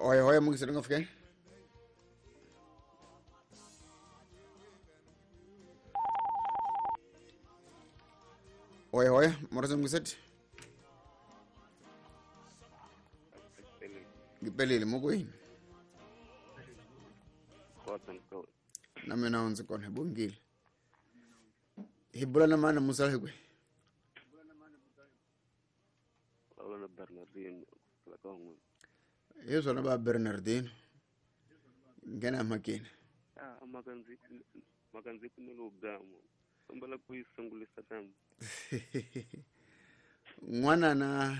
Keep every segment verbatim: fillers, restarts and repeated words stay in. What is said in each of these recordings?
Oye oye mungiselo nga fike. Oye oye moroso mungiseti. Ngipelile mokwini. Na mina ndzi kona bongile. Hi bula na mana musala hi kwe. Bula Bernardino la Kongo. Hi swona ba Bernardino. Ngena makini. Ah makanzi makanzi kumelo gamo. Kombela ku isungulisa kambe. N'wana na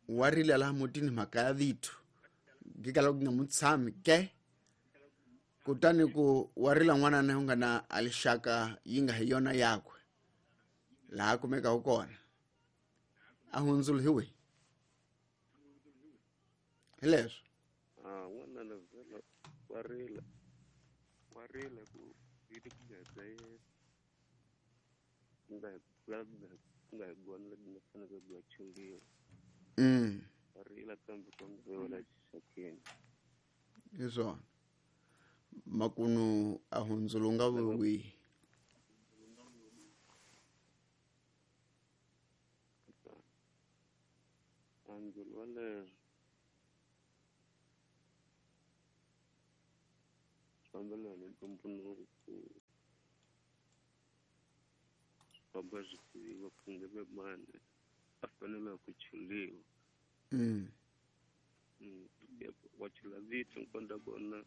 warila la mutini mhaka ya vito. Ngikala ku nga mutshami ke. Kutani ku warila n'wana na nga na alixaka yi nga hi yona yakwe. Laha kumeka ku kona. A hundzula hi we. Hi leswo. Ah n'wana na vela warila. Warila ku vito ku nga bya yena. Nga nga nga gona la nga fanele ku chuliwa. Mm. Warila kambe kambe xakeni. Hi swona. Makunu a hundzula nga wi. Angulo wale fambela ni ntumbunuko ku famba swi tiviwa ku nge ve mani a fanele ku chuliwa. Mm. Mm. Wa chula vito nkonda kona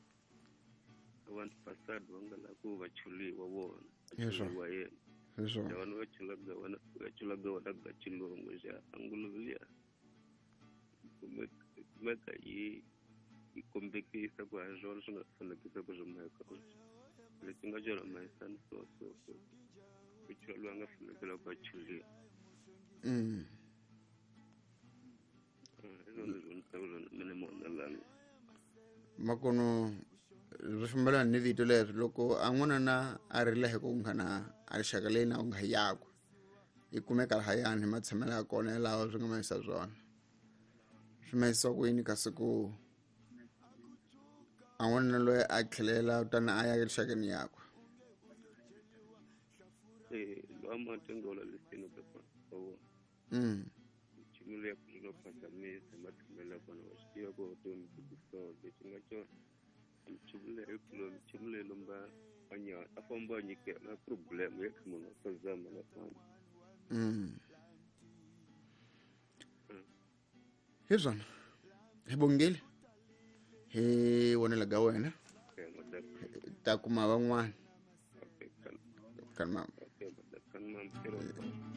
vanhu fasad va nga la ku va chuliwa vona. Chuliwa yena. Hi swona. Vanhu va chulaga vona va chulaga vona ga chilungu xa angulo liya. Kumeka yi yi kombekisa ku ha swona swi nga fanekisa ku swi mhaka leswi nga byela mayisani so so so ku chula loyi a nga fanekela ku a chuliwa. Mm. Hi swona leswi ni tivaka swona mina monalani. Makono swi fambelana ni vito leri loko a n'wana na a rila hi ku nga na a rixaka leyi na u nga yakwe yi kumeka lahayani hi matshamelo ya kona yalawa swi nga mayisa swona. Swi mayisa ku yini kasi ku a n'wana loyi a tlhelela kutani a ya erixakeni yakwe. Eh lowa matengola lesini ka vona. Mm. Nchumu leyi ku nga phazamisa matshamelo ya kona wa swi tiva ku vutomi byi so lexi nga xona. Nchumu leyi kulo nchumu leyi lomba anya a famba a nyikela problem ya munhu a phazama na famba. Mm. Hi swona. Hi bongile. Hi vonela ga wena. Ta kuma van'wana. Okay, Kan mama. okay, kan mama.